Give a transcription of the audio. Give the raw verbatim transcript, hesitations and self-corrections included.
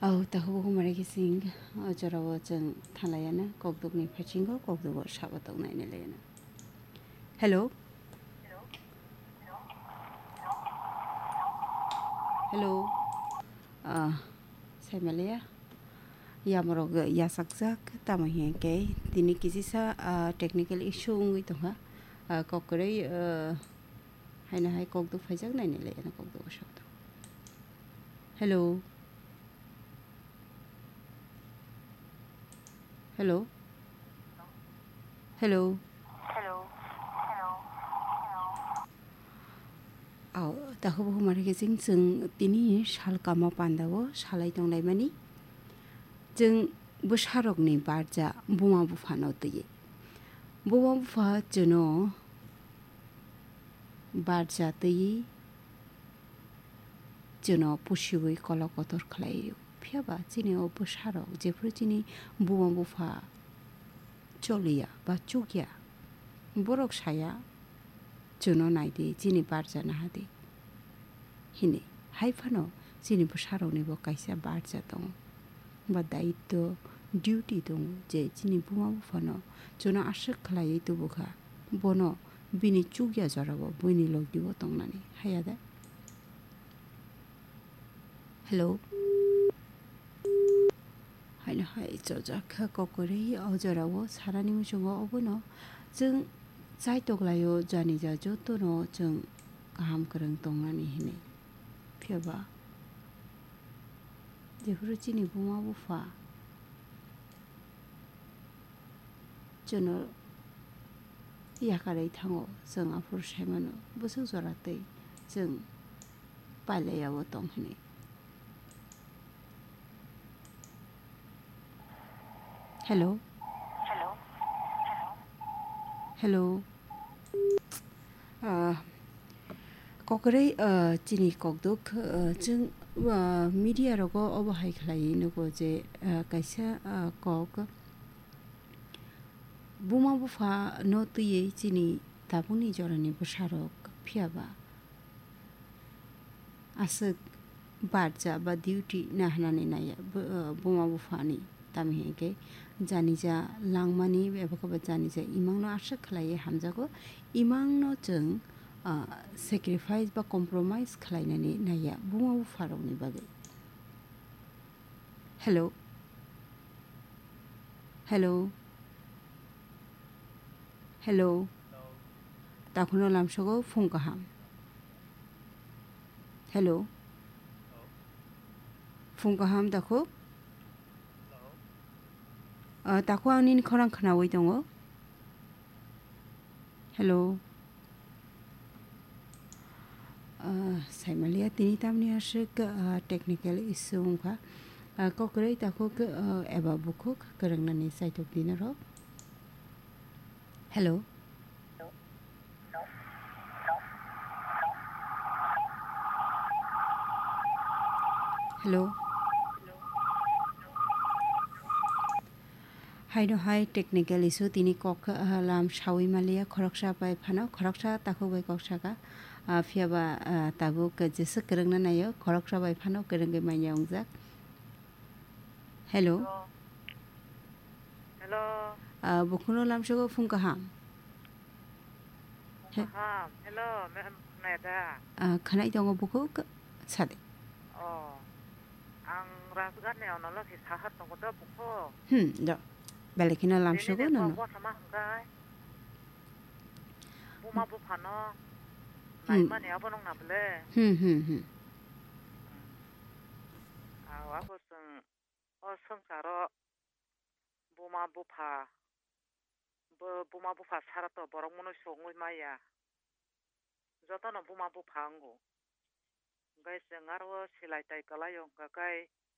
Au, takhuk bukhuk mare khe chwng o jorao chwng thanglaiana, kokdukni phasingo kokdugo sabo tongnaini laiana. Hello? Hello? Ah, saimalaya. Yamorok yachakjak, tamo hinkhe tini kisisa, ah, technical issue wngwi tongkha. Ah, kok kwrwi, ah, haino hai kokduk phaijak naini laiana kokdugo sabo tong. Hello? Hello? Hello? Au, takhuk bukhuk mare khe chwng, chwng tini sal kama pandao salai tonglaimani. Chwng bwsarokni barja buma buphano twiwi. Buma bupha chwngno barja twiwi chwngno pusiwi kolok kotor khlaio. Phiya ba chini o bwsarok jephuru chini buma bupha choliya ba chukya, borok saya, "Chwngno nai di, chini barja naha di," hini. Hai phano chini bwsarokni bo kaisa barja tongo, ba daityo, duty tongo, je chini buma buphano chwngno aswk khlaiwi tubukha, bono bini chukya jorao bini logi bo tongnani haya de. Hello. Haino hai chojak kha kokori o jorao sarani muchungo obono chwng chaitok laio, jani ja jotono chwng kaham kwrwng tongnani hinwi. Phiya ba jephuru chini buma bupha chwngno yakarwi thango, chwng aphuru saimano bwswk jora twi chwng pailaiyawo tong hinwi. Hello? Hello? Hello? Ah, kokrai, ah, chini kokduk, ah, chwng, ah, media rogo obo hai khlaiwi nugo je, ah, kaisa, ah, kok buma bupha no twiwi chini tabukni jorani bwsarok phiya ba aswk barja ba duty nahanani naiya bu-, uh, buma buphani. Tamni hinkhe janija langmani eba khe bo janija imangno aswk khlaiwi hamjago. Imangno chwng, uh, sacrifice ba compromise khlainani naiya buma bupharokni bagwi. Hello. Hello. Hello. Takhuno lamsogo phung kaham. Hello. Phung kaham takhuk. Ah, takhuk ang nini khorang khnaui tongo. Hello. Ah, saimaliya tini tamni aswk, ah, technical issue wngkha. Ah, kokroi takhuk, ah, eba bukhuk kwrwngnani saitok dinaro. Hello. Hello. Haino hai technical issue tini kok, ah, lam saui maliya khoroksa bai phano khoroksa takhuk bai kok saka, ah, phiya ba, ah, tabuk jeswk kwrwngna naio khoroksa bai phano kwrwngwi manya wngjak. Hello. Hello. Hello. Ah, bukhukno lamsogo phung kaham. He- Kaham. Hello, ma'am, khwnaya da? Ah, khwnai tongo bukhuk, sade. Oh, ang Rajgarhni onolo khe saha tongo da bukhuk. Hmm, do. Belai kheno lamsogo nono. Bini de kok bwsama hwnkhe buma buphano Hmm. naimani abo nung na bwle? Hmm, hmm, hmm. Hmm. Aw, abo chwng o swngcharo buma bupha, bo buma bupha sara to borok mwnwi songwi maya. Jotono buma bupha wngo. Hwnkhe chwng aro o silai tai kwlaio hwnkha khe